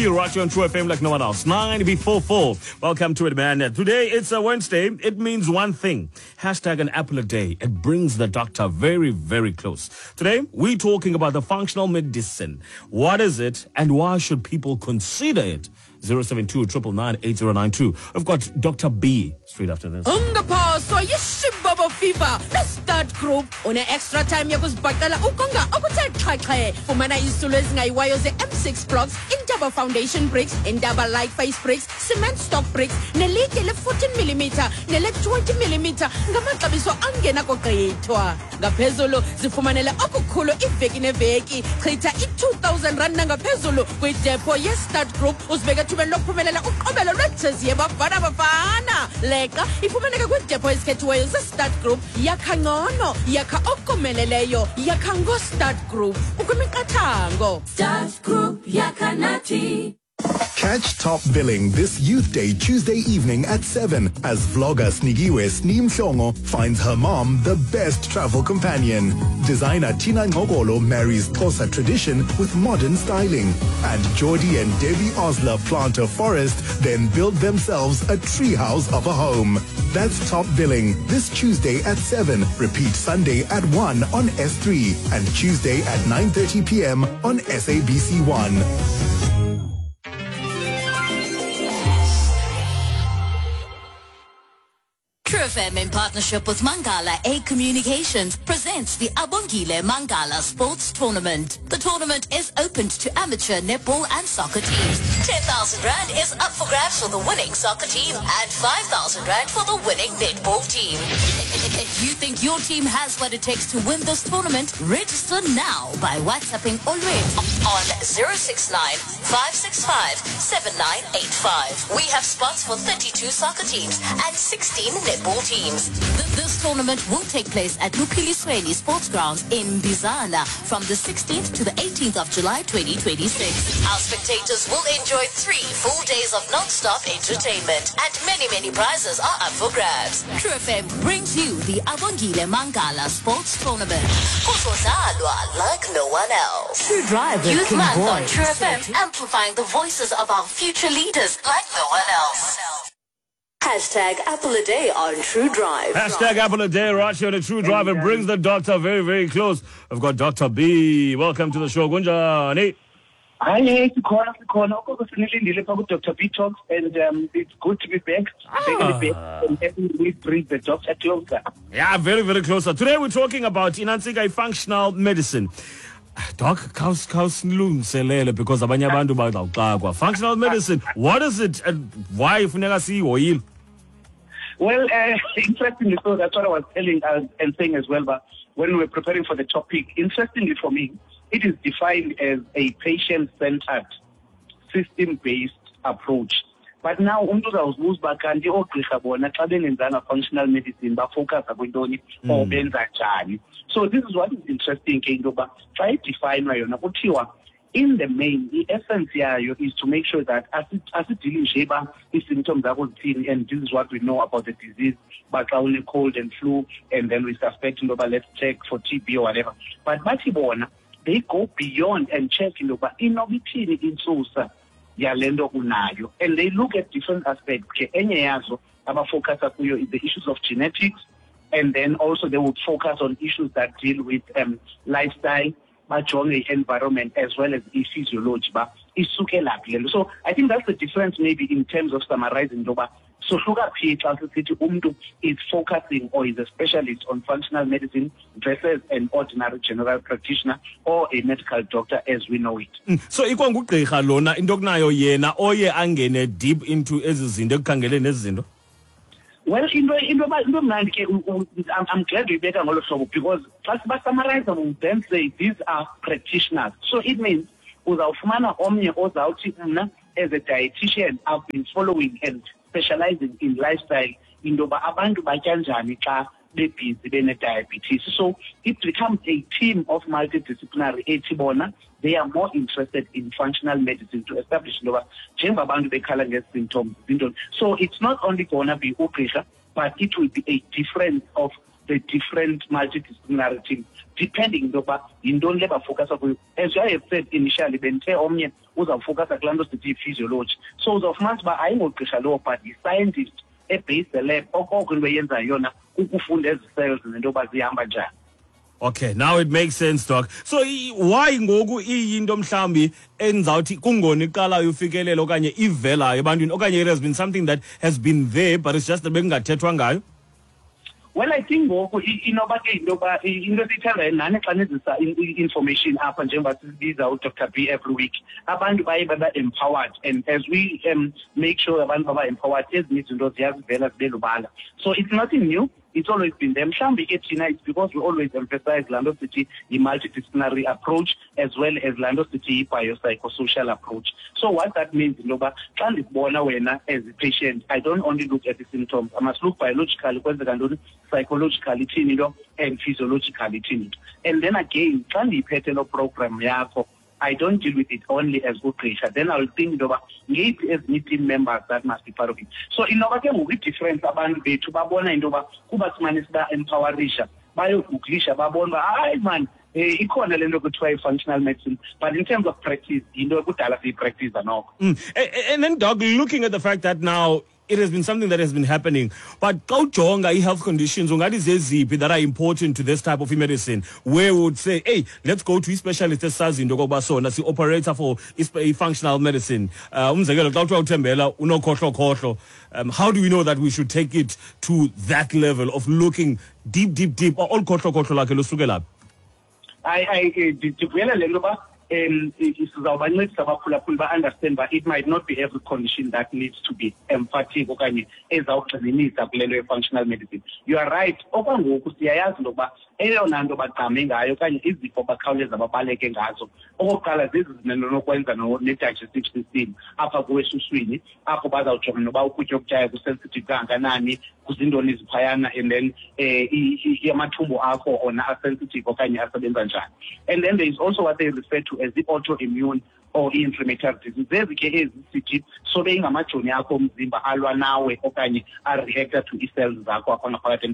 Right here on True FM like no one else. 9 before 4. Welcome to it, man. Today it's a Wednesday. It means one thing. Hashtag an apple a day. It brings the doctor very, very close. Today, we're talking about the functional medicine. What is it and why should people consider it? 072 999 I've got Dr. B straight after this. Ungaphoswa yishibobo fever nestart group une-extra time yokuzibhaqela ukonga okuthe xhaxhe. Fumana izitulo ezingayiwayo ze-M6 blocks, Intaba foundation bricks, Intaba light face bricks, cement stock bricks nelitye le-14 mm nele-20 mm ngamaxabiso angenakugqithwa. Ngaphezulu zifumanele okukhulu iveki neveki. Chitha i-2000 rand nangaphezulu kwidepho ye-start group uzibeke ethubeni lokuphumelela uqobelo lwejezi yeBafana Bafana. Leqa ifumaneka kwiidepho ezikhethiweyo ze-start group. Yakha ngcono, yakha okomeleleyo, yakha ngo-start group. Ukwimiqathango. Start Group yakha nathi. Catch Top Billing this Youth Day, Tuesday evening at 7 as vlogger Snikiwe Sni Mhlongo finds her mom the best travel companion. Designer Tina Ngogolo marries Xhosa tradition with modern styling. And Jordi and Debbie Osler plant a forest, then build themselves a treehouse of a home. That's Top Billing this Tuesday at 7. Repeat Sunday at 1 on S3 and Tuesday at 9:30 p.m. on SABC1. True FM in partnership with Mangala A Communications presents the Abongile Mangala Sports Tournament. The tournament is open to amateur netball and soccer teams. 10,000 Rand is up for grabs for the winning soccer team and 5,000 Rand for the winning netball team. If you think your team has what it takes to win this tournament, register now by WhatsApping Olwethu on 069 565 7985. We have spots for 32 soccer teams and 16 netball teams. This tournament will take place at Lupilisweni Sports Grounds in Bizana from the 16th to the 18th of July 2026. Our spectators will enjoy 3 full days of non-stop entertainment and many, many prizes are up for grabs. True FM brings you the Abongile Mangala Sports Tournament. Kuzodlalwa like no one else. True Drive with Youth King Month Boy. on True FM, amplifying the voices of our future leaders like no one else. Hashtag Apple a Day on True Drive. Hashtag Apple a Day right here on the True Drive. It brings the doctor very, very close. I've got Dr. B. Welcome to the show. Kunjani? Hi, sikhona sikhona okoko sinilindile pha ku-Dr. B Talks and it's good to be back. Back and every week bring the doctor closer. Yeah, very, very closer. Today we're talking about inantsika functional medicine. Doc, khawusilungiselele because abanye abantu bazawuxakwa. Functional medicine, what is it and why funeka siyihoyile? Well, interestingly, so that's what I was telling us and saying as well, but when we were preparing for the topic, interestingly for me, it is defined as a patient-centered, system-based approach. But now, umntu uzawuzibuza uba kanti oogqirha bona xa bengenzanga functional medicine bafocusa kwintoni or benza njani. So this is what is interesting ke into yokuba xa idefayinwa yona kuthiwa in the main, i-essence yayo is to make sure that asidili nje uba ii-symptoms zakho zithini and this is what we know about the disease, uba xa une-cold and flu and then we suspect into yoba let's check for TB or whatever. But bathi bona, they go beyond and check into yokuba inoba ithini intsusa yale nto unayo. And they look at different aspects. Ke enye yazo abafocusa kuyo is the issues of genetics, and then also they would focus on issues that deal with lifestyle, bajonge i-environment as well as i-physiology, ba isukela phi le nto. So I think that's the difference maybe in terms of summarizing into yoba sohluka phi xa sisithi umntu is focusing or is a specialist on functional medicine versus an ordinary general practitioner or a medical doctor as we know it. So ikwangugqirha lona into okunayo yena oye angene deep into ezi zinto ekukhangeleni ezi zinto? Well, into mnandi ke, I'm glad uyibeka ngolo hlobo because xa sibasummarize we then say these are practitioners. So it means uzawufumana omnye ozawuthi mna as a dietitian I've been following and specializing in lifestyle into yoba abantu batya njani xa bebhizi bene-diabetes. So it becomes a team of multidisciplinary ethi bona they are more interested in functional medicine to establish into yoba njengoba abantu bekhala ngezi-symptoms zintoni. So it's not only gonna be ugqirha, but it will be a difference of the different multidisciplinary teams, depending into yokuba yintoni le bafokasa kuyo. As I have said initially, bendithe omnye uzawufokasa kulaa nto sithi yi-physiology. So uzawufumanisa uba ayingogqirha lowo, but yi-scientist ebase the lab, okoko into eyenzayo yona kukufunda ezi cells nento yoba zihamba njani. Okay, now it makes sense, Doc. So why ngoku iyinto mhlambi endizawuthi kungona iqalayo ufikelela okanye ivelayo ebantwini, okanye it has been something that has been there but it's just that bekungathethwa ngayo? Well, I think ngoku inoba ke into yoba into esiyithandayo nani xa nizisa i-information apha, njengoba sibiza uDr B every week, abantu baye baba-empowered, and as we make sure abantu baba-empowered, ezinye izinto ziyazivela zibe lubala. So it's nothing new, it's always been there. Mhlawumbi ke thina it's because we always emphasize laa nto sithi yi-multidisciplinary approach as well as laa nto sithi yi-biopsychosocial approach. So what that means into yoba xa ndikubona wena as a patient, I don't only look at the symptoms, I must look biologically kwenzeka ntoni, psychologically ithini into, and physiologically ithini into. And then again, xa ndiyiphethe loo program yakho, I don't deal with it only as ugqirha. Then I'll think into yoba ngeyiphi ezinye team members that must be part of it. So inoba ke ngoku i-difference, abantu bethu babona into yoba kuba simane siba-empowerisha, bayogooglisha babone uba hayi man, ikhona le nto kuthiwa i-functional medicine, but in terms of practice, yinto ekudala siyipractice noko. And then, Doc, looking at the fact that now it has been something that has been happening, but xa ujonga i-health conditions, ungathi zeziphi that are important to this type of medicine, where we would say, hey, let's go to i-specialist esazi into okokuba sona si-operator for i-functional medicine? Umzekelo, xa kuthiwa uThembela unokhohlokhohlo, how do we know that we should take it to that level of looking deep, deep, deep? Olu khohlokhohlo lakhe lusukela phi? Ndivuyela le nto yoba sizawubancedisa abaphulaphuli ba-understand uba it might not be every condition that needs to be emphatic okanye ezawugxininisa kule nto ye-functional medicine. You are right, okwangoku siyayazi into yokuba eyona nto bagqame ngayo okanye izifo bakhawuleza babaleke ngazo okokuqala zezi zinento nokwenza ne-digestive system apha kuwe esuswini, apho bazawujonga noba ukutya okutyayo kusensitive kangakanani, kuzintoni eziphayana, and then amathumbu akho ona asensitive okanye asebenza njani. And then there is also what they refer to as the autoimmune or i-inflammatory disease. Zezi ke ezi sithi sobe ingamajoni akho omzimba alwa nawe okanye areacta to ii-cells zakho apha ngaphakathi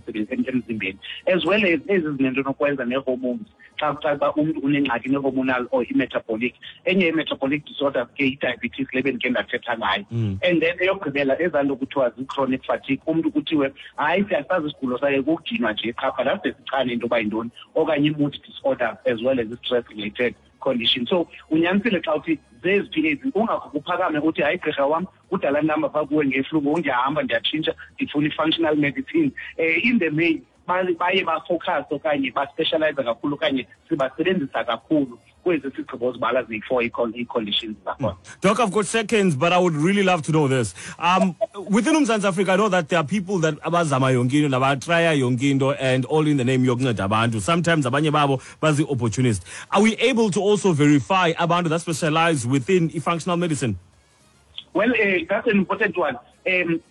emzimbeni, as well as ezi zinento nokwenza nee-hormones. Xa kucaca uba umntu unengxaki ne-hormonal or i-metabolic, enye i-metabolic disorders ke i-diabetes le bendike ndathetha ngayo. And then eyokugqibela ezaa nto kuthiwa zii-chronic fatigue, umntu kuthiwe hayi siyasazi isigulo sakhe kukudinwa nje qha, but ade sichane into yoba yintoni, okanye i-mood disorders as well as i-stress related condition. So unyanisile xa uthi zeziphi ezi, ungakho kuphakame uthi hayi gqirha wam kudala ndihamba phaa kuwe ngeflu, ngoku ndiyahamba ndiyatshintsha ndifuna i-functional medicine. In the main baye bafocus okanye baspecialize kakhulu okanye sibasebenzisa kakhulu kwezi sigqibo zibala ziyi-four ii-conditions zakhona. Doc, I've got seconds, but I would really love to know this. Within uMzantsi Afrika, I know that there are people that abazama yonke into, nabatraya yonke into, and all in the name yokunceda abantu. Sometimes abanye babo bazi-opportunist. Are we able to also verify abantu that specialize within functional medicine? Well, that's an important one.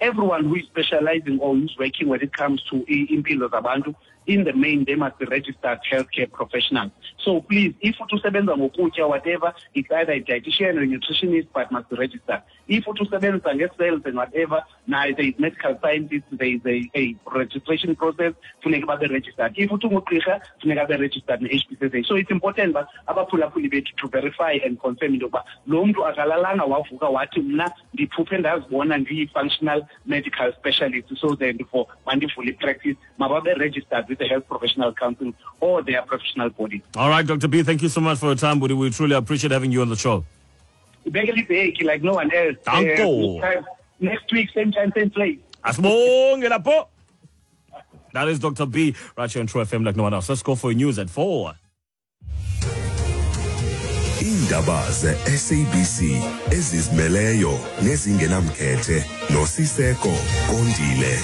Everyone who is specializing or who's working when it comes to impilo zabantu, in the main, they must be registered healthcare professionals. So please, if usebenza ngokutya, whatever, it's either a dietitian or a nutritionist, but must be registered. If usebenza nge-cells and whatever, now there is medical scientists, there is a registration process, funeka babe registered. If ungugqirha, funeka babe registered ne-HPCSA. So it's important ba abaphulaphuli bethu to verify and confirm into yokuba lo mntu akalalanga wavuka wathi mna ndiphuphe ndazibona ndiyi-functional medical specialist, so then for mandivule practice, mababe registered with the Health Professional Council or their professional body. All right, Dr. B, thank you so much for your time, buddy. We truly appreciate having you on the show. Like no one else. Danko. Next week, same time, same place. Asibonge lapho. That is Dr. B, right here on True FM like no one else. Let's go for news at 4. Iindaba ze-SABC ezizimeleyo nezingenamkhethe noSiseko Kondile.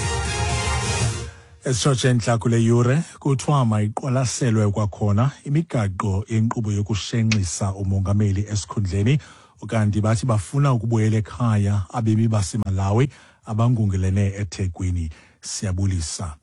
Esitshotshe entla kule yure, kuthiwa mayiqwalaselwe kwakhona imigaqo yenkqubo yokushenxisa umongameli esikhundleni, ukanti bathi bafuna ukubuyela ekhaya abemi baseMalawi abangungelene eThekwini. Siyabulisa.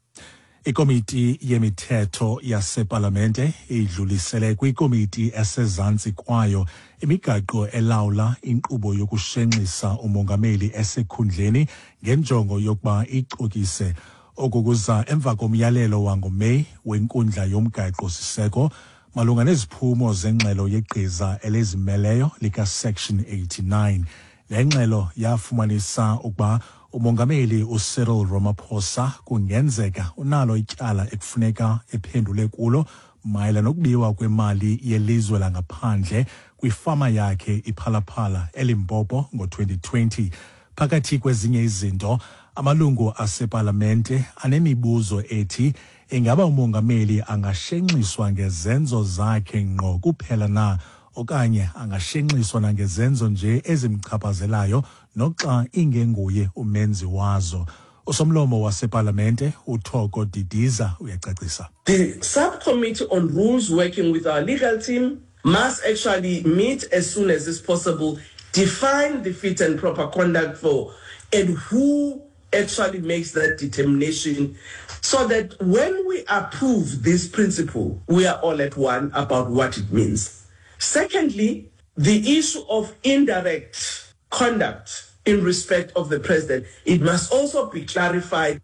Ikomiti yemithetho yasepalamente idlulisele kwikomiti esezantsi kwayo imigaqo elawula inkqubo yokushenxisa umongameli esikhundleni ngenjongo yokuba icokise. Oku kuza emva komyalelo wangoMeyi weNkundla yoMgaqo-siseko malunga neziphumo zengxelo yegqiza elizimeleyo likaSection 89. Le ngxelo yafumanisa ukuba uMongameli uCyril Ramaphosa kungenzeka unalo ityala ekufuneka ephendule kulo mayela nokubiwa kwemali yelizwe langaphandle kwifama yakhe iPhalaphala eLimpopo ngo-2020. Phakathi kwezinye izinto, amalungu asepalamente anemibuzo ethi ingaba umongameli angashenxiswa ngezenzo zakhe ngqo kuphela na okanye angashenxiswa nangezenzo nje ezimchaphazelayo noxa ingenguye umenzi wazo. Usomlomo wasepalamente uThoko Didiza uyacacisa. The subcommittee on rules working with our legal team must actually meet as soon as is possible, define the fit and proper conduct for and who actually makes that determination, so that when we approve this principle, we are all at one about what it means. Secondly, the issue of indirect conduct in respect of the president, it must also be clarified.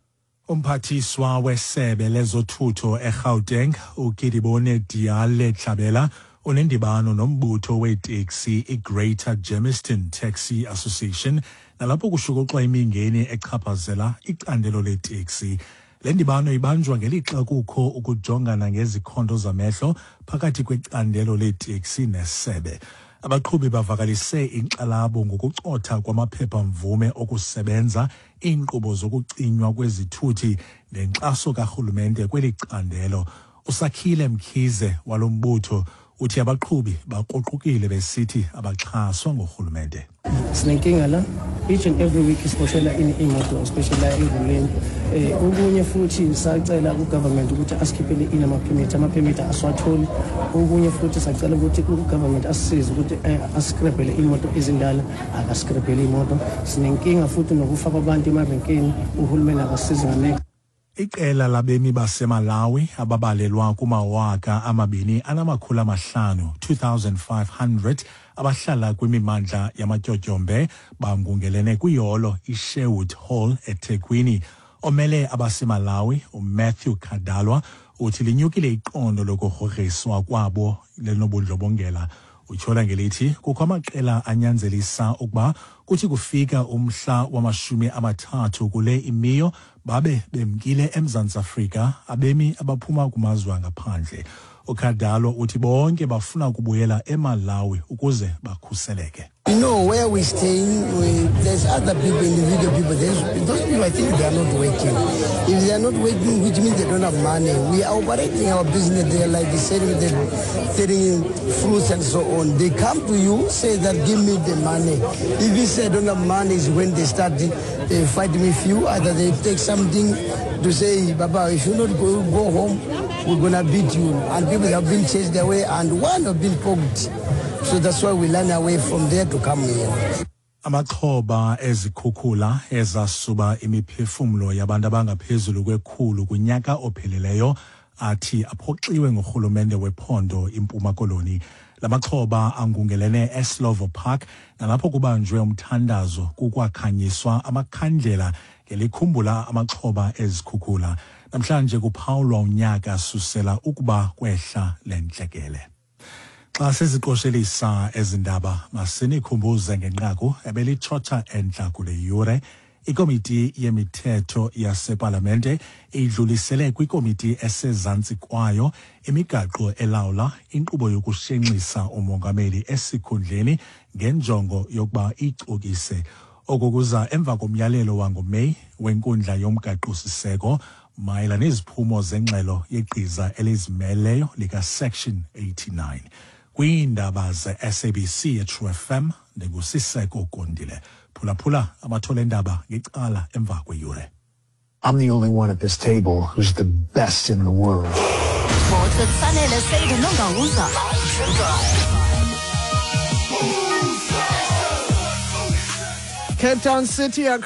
Umphathiswa wesebe lezothutho eGauteng uKedibone Diale Tlabela unendibano nombutho weeteksi iGreater Germiston Taxi Association nalapho kushukuxwa imingeni echaphazela icandelo leeteksi. Le ndibano ibanjwa ngelixa kukho ukujongana ngezikhondo zamehlo phakathi kwecandelo leeteksi nesebe. Abaqhubi bavakalise inkxalabo ngokucotha kwamaphepha-mvume okusebenza, iinkqubo zokucinywa kwezithuthi nenkxaso karhulumente kweli candelo. Usakhile Mkhize walo mbutho uthi abaqhubi bakruqukile besithi abaxhaswa ngurhulumente. Sinenkinga la, each and every week isiboshela imoto, especially la eRhuleni. Okunye futhi sacela ku-government ukuthi asikhiphele ini ama-permit, ama-permit asiwatholi. Okunye futhi sacela ukuthi u-government asisize ukuthi asikrebhele imoto ezindala, akasikrebhele imoto. Sinenkinga futhi nokufaka abantu emarenkeni, uhulumeni akasisizi nganeke. Iqela labemi baseMalawi ababalelwa kuma-2500 2500 abahlala kwimimandla yamatyotyombe bangungelene kwiholo iSherwood Hall eThekwini. Omele abaseMalawi uMatthew Kadalwa uthi linyukile iqondo lokugrogriswa kwabo lenobundlobongela. Utyhola ngelithi kukho amaqela anyanzelisa ukuba kuthi kufika umhla wama-30 kule imiyo babe bemkile eMzantsi Afrika abemi abaphuma kumazwe angaphandle. uKadalo uthi bonke bafuna ukubuyela eMalawi ukuze bakhuseleke. You know, where we're staying, there's other people, individual people. Those people, I think they are not working. If they are not working, which means they don't have money. We are operating our business there, like selling, selling fruits and so on. They come to you, say that, give me the money. If you say I don't have money, is when they start fighting with you. Either they take something to say, Baba, if you not go home, we're going to beat you. And people have been chased away, and one have been poked. So that's why we run away from there to come here. Amaxhoba ezikhukhula ezasuba imiphefumlo yabantu abangaphezulu kwe-100 kunyaka ophelileyo athi aphoxiwe ngurhulumente wephondo iMpuma Koloni. La maxhoba angungelene eSlovo Park nalapho kubanjwe umthandazo kukwakhanyiswa amakhandlela ngelikhumbula amaxhoba ezikhukhula. Namhlanje kuphawulwa unyaka susela ukuba kwehla lentlekele. Xa siziqoshelisa ezi ndaba, masinikhumbuze ngenqaku ebelitshotsha entla kule yure. Ikomiti yemithetho yasepalamente idlulisele kwikomiti esezantsi kwayo imigaqo elawula inkqubo yokushenxisa umongameli esikhundleni ngenjongo yokuba icokise. Oku kuza emva komyalelo wangoMeyi wenkundla yomgaqo-siseko mayela neziphumo zengxelo yegqiza elizimeleyo likaSection 89. Kwiindaba ze-SABC eTrue FM, ndinguSiseko Kondile. Phulaphula amathole endaba ngecala emva kweyure. I'm the only one at this table who's the best in the world. Sports with Sanele Seide Nongawuza. Cape Town City are